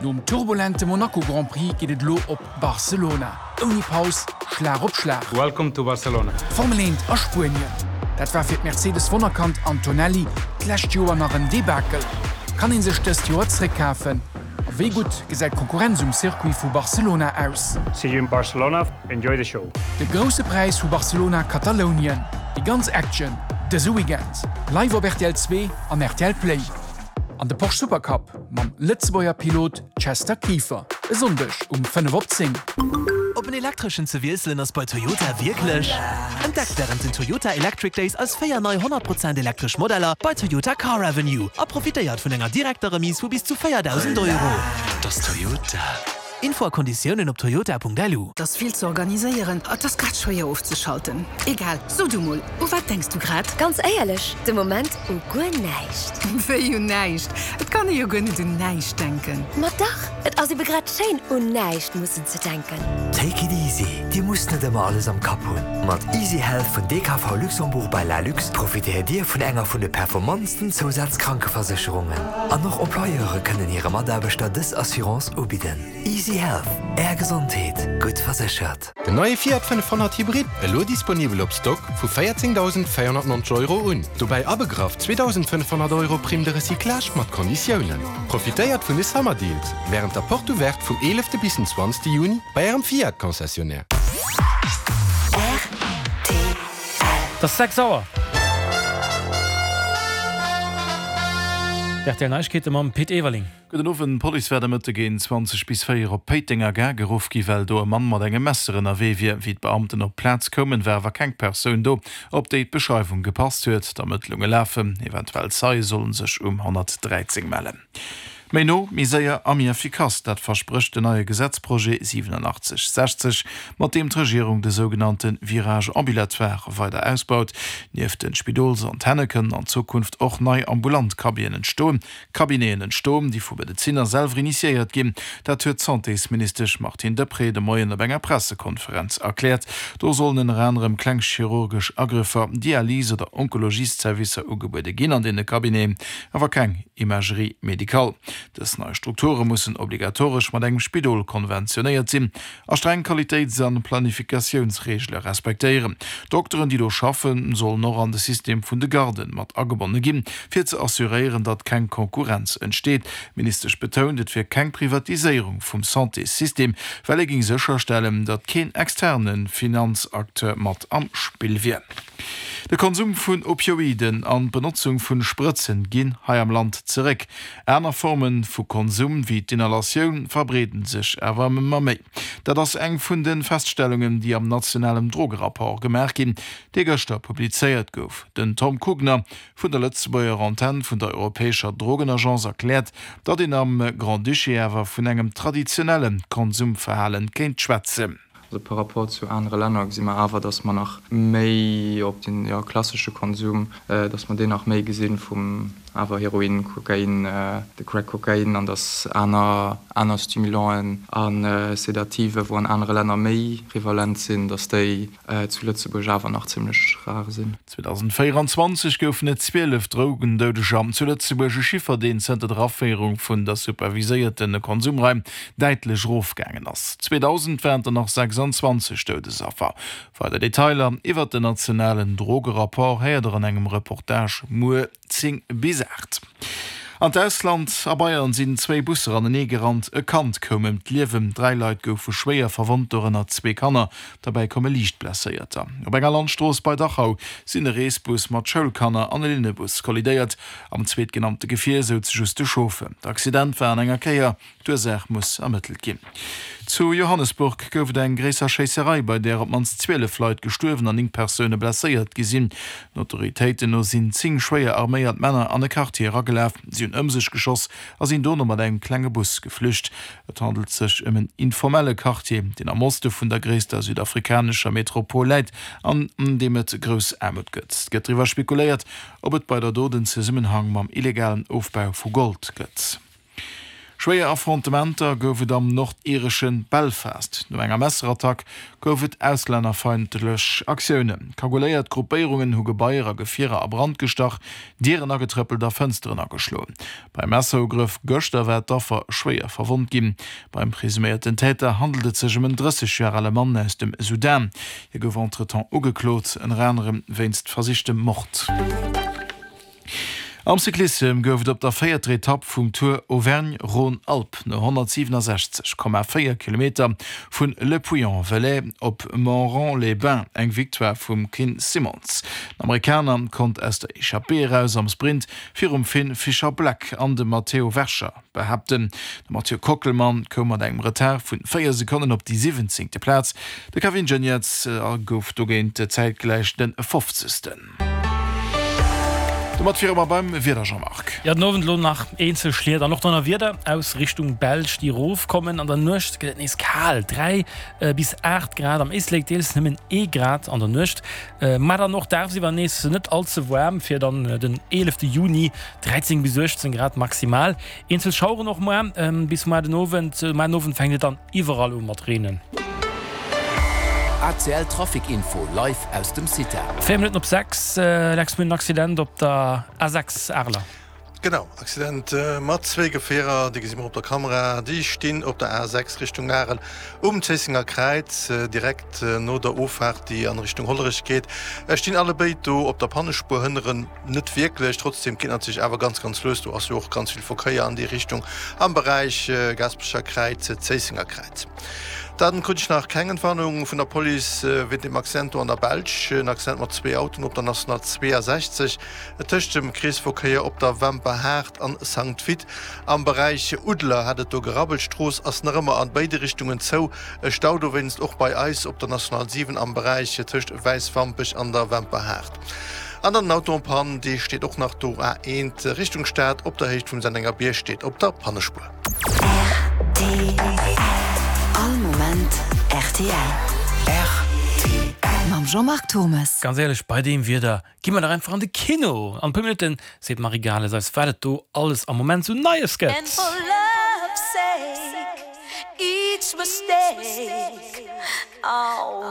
Nom turbulente Monaco Grand Prix geet et elo op Barcelona. Ouni Paus, Schlag op Schlag. Welcome to Barcelona. Formel 1 a Spuenien, dat war fir d'Mercedes-Wonnerkand Antonelli d'lescht Joer nach en Debakel. Kann ee sech dëst Joer zréckkafen? A wéi gutt gesäit d'Konkurrenz um Circuit vu Barcelona aus? See you in Barcelona, enjoy the show! De Grousse Präis vu Barcelona-Katalounien, déi ganz Action dëse Weekend live op rtl 2 an rtl Play. An de Porsche Supercup mam Lëtzebuerger Pilot Chester Kieffer e Sonndeg um 5 op 10. Op en elektreschen ze wiesselen ass bei Toyota wierklech. Entdeckt wärend den Toyota Electric Days eis 4 nei 100 Prozent elektresch Modeller bei Toyota Car Avenue a profitéiert vun enger direkter Remise vu bis zu 4.000 Euro. Et ass Toyota. Info a Konditiounen op toyota.lu. 't ass vill ze organiséieren, et ass grad schwéier ofzeschalten. Egal, so du mol, u wat denks du grad? Ganz éierlech, de Moment u guer näischt. Wéi un näischt? Et kann ee jo guer net un näischt denken. Ma dach, et ass ebe grad schéin, un näischt mussen ze denken. Take it easy, Dir musst net ëmmer alles am Kapp hunn. Mat Easy Health vun DKV Luxembourg by Lalux profitéiert Dir vun enger vun de performantsten Zousazkrankeversécherungen. An och Employeure kënnen hire Mataarbechter dës Assurance ubidden. Easy Health, Är Gesondheet, gutt verséchert. Den neie Fiat 500 Hybrid, elo disponibel op Stock vu 14.490 Euro un. Dobäi abegraff 2.500 Euro Prime de recyclage mat Konditiounen. Profitéiert vun de Summer Deals wärend der Porte Ouverte vum 11 bis den 20 Juni bei ärem Fiat Concessionnaire. Et ass 6 Auer. D'RTL Neiegkeete mam Pit Everling. Gudden Owend, D'Police war de Mëtte géint 20 bis 4 op Péitenger Gare geruff gi well do e Mann mat engem Messer ënnerwee wier. Wéi d'Beamten op d'Plaz koumen, war awer keng Persoun do, op déi d'Beschreiwung gepasst huet. D'Ermëttlunge lafen, eventuell Zeie sollen sech um 113 mellen. Méi no, méi séier a méi effikass, dat versprécht den neie Gesetzprojet 8760, mat deem d'Regierung de sougenannte Virage ambulatoire weider ausbaut. Nieft de Spidolsantenne kënnen an Zukunft och nei ambulant Cabinen entstoen. Cabineten entstoen, déi vu Medezinner selwer initiéiert ginn. Dat huet d'Santésministesch Martine Deprez de Moien op enger Pressekonferenz erkläert. Do sollen ënner anerem kleng chirurgesch Agrëffer, Dialys oder Onkologiesservicer ugebuede ginn an deene Cabineten, awer keng Imagerie médicale. Dës nei Strukture mussen obligatoresch mat engem Spidol konventionéiert sinn. A streng Qualitéits an Planifikatiounsreegele respektéieren. D'Dokteren, déi do schaffen, sollen och an de System vun de Garden mat agebonne ginn, fir ze assuréieren, datt keng Konkurrenz entsteet. D'Ministesch betount, et wier keng Privatiséierung vum Santéssystem, well ee géing sécherstellen, datt keen externe Finanzacteur mat am Spill wier. De Konsum vun Opioiden an d'Benotzung vun Sprëtzen ginn hei am Land zeréck. Aner Formen vu Konsum, wéi d'Inhalatioun, verbreeden sech awer ëmmer méi. Dat ass eng vun de Feststellungen, déi am nationalen Drogerapport gemaach ginn, dee gëschter publizéiert gouf. Den Tom Kugner vun der Lëtzebuerger Antenn vun der europäescher Drogenagence erkläert, datt een am Grand-Duché awer vun engem traditionelle Konsumverhalen kéint schwätzen. Also par rapport zu anere Länner gesi mer awer, dass mer nach méi op den, jo, klassesche Konsum, dass mer deen nach méi gesi vum awer Heroin, Kokain, de Crack Cocaine an dass aner, aner Stimulanten a Sedative, wou an anere Länner méi prevalent sinn, dass déi zu Lëtzebuerg awer nach zimlech rar sinn. 2024 goufen et 12 Drogendoudeger zu Lëtzebuerg, e Chiffer, deen zënter der Aféierung vun der superviséierte Konsumraim däitlech erofgaangen ass. 2000 waren der nach 26 Doudesaffer. Weider Detailer iwwert den nationalen Drogerapport héiert der an engem Reportage muer. 10 bis 8. An d'Ausland, A Bayern sinn zwéi Busser anenee gerannt, e Kand koum ëm d'Liewen, 3 Leit goufe schwéier verwonnt, dorënner zwee Kanner. Derbäi komme liicht Blesséierter. Op enger Landstrooss bei Dachau sinn e Reesbus mat Schoulkanner an e Linnebus kollidéiert. Am zweetgenannte Gefier souz just de Chauffeur. D'Accident war an enger Kéier. D'Ursaach muss ermëttelt ginn. Zu Johannesburg gouf et eng gréisser Schéisserei, bei där op d'mannst 12 Leit gestuerwen an 9 Persoune blesséiert gi sinn. Den Autoritéiten no sinn 10 schwéier arméiert Männer an e Quartier eragelaf. Si hunn ëm sech geschoss a sinn dono mat engem klenge Bus geflücht. Et handelt sech ëm en informelle Quartier, deen am Oste vun der gréisster südafrikanescher Metropol läit an an deem et grouss Aarmut gëtt. Et gëtt driwwer spekuléiert, ob et bei der Dot en Zesummenhang mam illegalen Ofbau vu Gold gëtt. Schwéier Affrontementer gouf et am nordiresche Belfast. No enger Messerattack gouf et auslännerfeindlech Aktiounen. Kagouléiert Gruppéierungen hu Gebaier a Gefierer a Brand gestach, Dieren agetrëppelt a Fënsteren ageschloen. Beim Messerugrëff gëschter war d'Affer schwéier verwonnt ginn. Beim presuméierten Täter handelt et sech ëm en 30 Joer ale Mann aus dem Sudan. Hie gouf entretemps ugeklot, ënner anerem wéinst versichtem Mord. Am Cyclissem gouf et op der véierter Etapp vum Tour Auvergne-Rhône-Alpes no 167,4 Kilometer vun Le Puy-en-Velay op Montrond-les-Bains eng Victoire vum Quinn Simmons. Den Amerikaner konnt aus der Echappée eraus am Sprint virum Finn Fischer-Black an dem Matteo Vercher behaapten. De Mathieu Kockelmann koum mat engem Retard vun 4 Sekonnen op déi siwwenzéngte Plaz, de Kevin Geniets gouf dogéint zäitgläich de fofzegsten. Domat wiere mer beim Wieder, Jean-Marc. Jo, den Owend elo nach eenzel Schliet an och Donnerwieder aus Richtung Belsch, déi erofkommen. An der Nuecht gëtt et nees kal, 3 bis 8 Grad, am Éislek deels nëmmen ee Grad an der Nuecht. Mä dann och dagsiwwer nees net all ze waarm, fir dann den 11 Juni 13 bis 18 Grad maximal. Eenzel Schaueren och muer bis muer den Owend. Muer den Owend fänkt et dann iwwerall u mat reenen. ACL Trafic Info live aus dem CITA. 4 Minutten op 6, Lex, mir hunn en Accident op der A6 Areler. Genau, Accident mat zwéi Gefierer, déi gesi mer op der Kamera. Déi stinn op der A6 Richtung Arel um Zéissenger Kräiz, direkt no der Offaart, déi an Richtung Hollerech geet. Stinn allebéid do op der Pannespuer, hënneren net wierklech. Trotzdem geet natierlech awer ganz, ganz lues. Do ass jo och ganz vill Verkéier an déi Richtung am Beräich Gaasperecher Kräiz, Zéissenger Kräiz. Dann krut ech nach keng Entwarnung vun der Police wéint dem Accident do an der Belsch. En Accident mat zwee Autoen op der National 62 tëscht dem Kreesverkéier op der Wemperhaart an Sankt Vith. Am Beräich Uddler hat et do gerabbelt. D'Strooss ass nach ëmmer an béide Richtungen zou. E Stau dowéinst och bei eis op der National 7 am Beräich tëscht Wäiswampech an der Wemperhaart. An dann den Auto en panne, dee steet och nach do. A1 Richtung Stad op der Héicht vum Sennengerbierg steet op der Pannespuer. Rtl. All Moment rtl. Rtl. Mam Jean-Marc Turmes. Ganz éierlech, bei deem Wieder gi mer dach einfach an de Kino! An e puer Minutten seet d'Marie Gales eis, wat et do alles am Moment sou Neies gëtt. And for love's sake, each mistake, oh.